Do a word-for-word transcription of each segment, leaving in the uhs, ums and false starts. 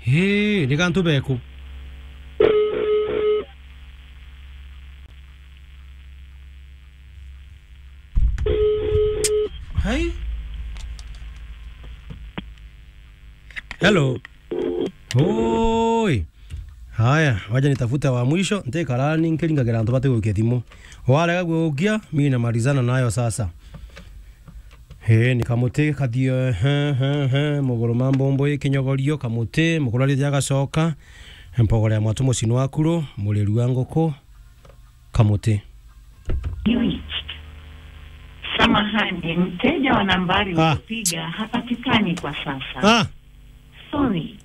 Hii, ni gantu beku. Hai. Hello. Oi. Haya, wacha nitafute wa mwisho, ntikarani nkiringagira antu bati gukia thimu. Warega gukia, mimi namalizana nayo sasa. He, ni kamuti kathio, he, he, he, muguru ma mbombo i kinyogorio, kamuti, muguru aritia agacoka, mpogore ya mwatu mucini wa kuro, muriru wa nguku, kamuti. You reached. Samahani, mteja wa nambari Ah. uliyopiga hapatikani kwa sasa. Ah. Sorry.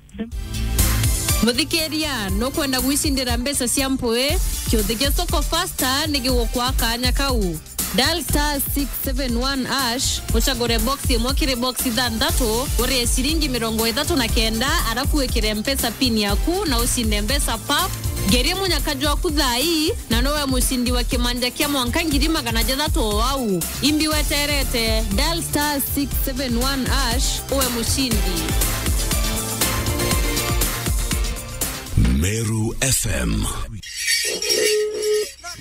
Muthikiria, nukwenda gwicindira mbeca cia mpui? Kiuthi gia Soko Fasta ni gigukwa kanya kau. Dial star six seven one hash, ucagure box imwe kiri box ithanthatu, urie ciringi mirongo ithatu na kenda, arafu wikire Mpesa pin yaku na ucinde mbeca pap. Ngerie munyaka jwaku thaa ii, na nowe mucindi wa kimanja kia mwanka ngiri magana jathatu o au. Imbi weterete, dial star six seven one hash, uwe mucindi. Meru F M.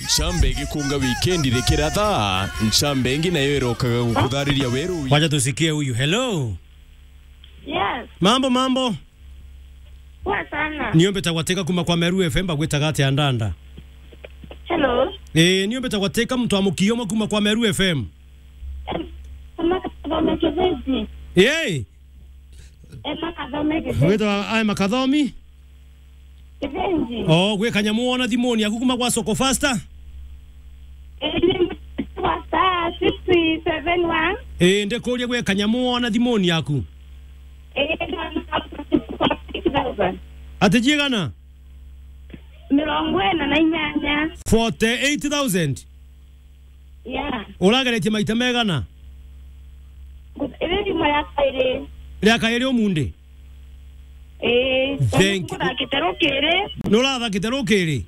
Ncambe igikunga wikendi rikiratha, ncambe ingi nayo irokaga gukuthariria weru. Wacha tusikie huyu. Hello. Yes. Mambo, mambo. Poa sana. Niombe tagwateka kuma kwa Meru F M, bagwitaga atia ndanda? Hello. Eh, niombe tagwateka mtu wa mukio mwa kuma kwa Meru F M. Em, Emma Kathome Kibenji. Yey. Emma Kathome Kibenji. Witwa Emma Kathomi? Kibenji. Oh, gwi kanyamu wona thimuni yaku kuma kwa Soko Fasta? Eh, ni kwa star six seven one. Eh, ndikuria gwi kanyamu wona thimuni yaku? Eh, six thousand. Ati jigana? Mirongo ina na inyanya. Forty-eight thousand? Yeah. Urageretie maita megana? Iri rimo ria kairi. Ria kairi umundi? Eh, thank you. Nkuthakite rukiri. Nurathakite rukiri?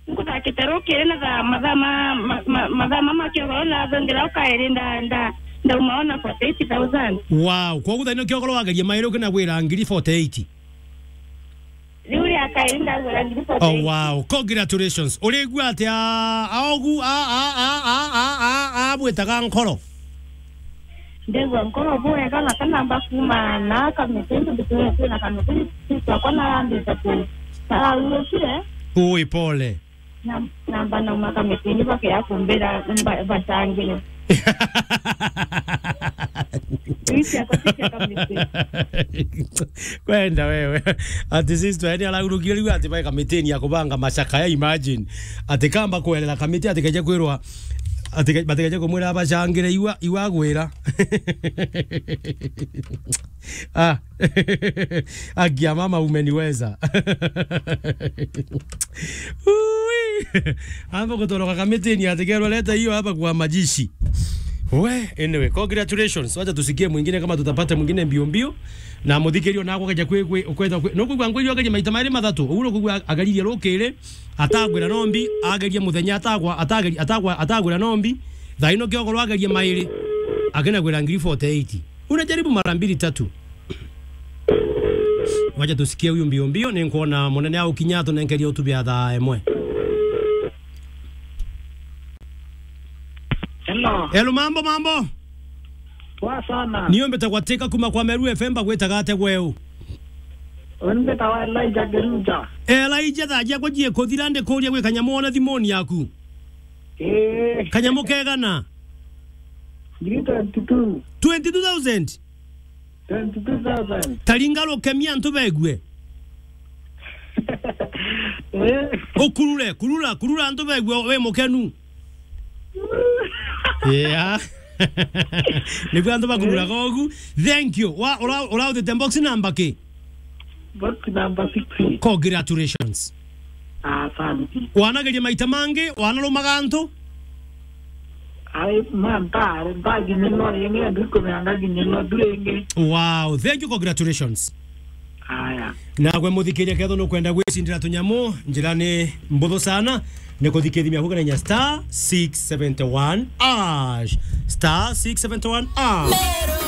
Nkuthakite rukiri na thaa, mathaa ma, ma, ma, mathaa ma, ma kiogoro na thongira ukairi nda, nda, ndauma ona forty-eight thousand. Wow, koguo thaino kiogoro wageria mairi ukina gwira ngiri forty-eight? Riu ria kairi ndagwira ngiri forty-eight. Oh, wow. Congratulations. Urigua atia aogu a, a, a, a, a, a, a, bwitaga nkoro? Ndegwa nkoro bwega na kanamba kuma na kamiti, ndu twina kamiti, twakwa na ndita tu. Tarurukire. Ui, pole. Na, namba nauma kamitini bakeya kumbira mba-, bacangire. Riu ciakwa ti cia kamiti. Kwenda wewe. Ati sister, yani araurukire riu ati bai kamitini ya kubanga macakaya, imagine. Ati kamba kwerera kamiti, ati keje kwirwa, ati ke-, bati keje kumwira bacangire iwa, iwa gwira. Ah. Akia mama umeniweza. Ui. Amba kutoroka kamitini ati kerwa leta hiyo hapa kwa majishi. We, anyway, congratulations. Wacha tusikie mwingine kama tutapata mwingine mbio mbio. Na muthikirio na kwenda kwe, kwe, kwenda kwe. No kwigwa ngwiri agerie maita mairi mathatu. Uguo no kwigwa ageririe rukiri, atagwira nombi, agerie muthenya atagwa, atageri-, atagwa, atagwira nombi. Thaino kiogoro agerie mairi. Akina gwira ngiri forty-eight. Unajaribu mara mbili tatu. Wacha tusikie huyu mbio mbio, ni nkuona munene au kinya tunenkerie utubia thaa imwe. Hello. Hello, mambo, mambo. Poa sana. Niyo mbitagwa Tika kuma kwa Meru F M, bagwitaga atia gweu? Uni mbitagwa Elijah Geruja. Elijah, thaa ciakwa ciikuthira, ndikuria gwi kanyamu ona thimuni yaku. Ee. Kanyamu kegana? Ngiri twenty-two. Twenty-two thousand? Twenty-two thousand. Taringa rukemia antu begue. Eh. Ukurure, kurura, kurura antu begue, we mukenu. Yeah. Niguo antu bakururaga ugu. Thank you. Wa, ura, urautite box number ki? Box number six. Congratulations. Asante. Wanageria maita mangi, wanarumaga antu? Ai, ma, ntare, ntaginyirwa ringi, ndikumeanga ginyirwa tu ringi. Wow, thank you, congratulations. Aya. Nagwe muthikiria, ketho nukwenda gwicindira tunyamu, njira ni mbuthu sana, ni kuthikithia miaku kana inya star six seventy one hash. Star six seventy one hash.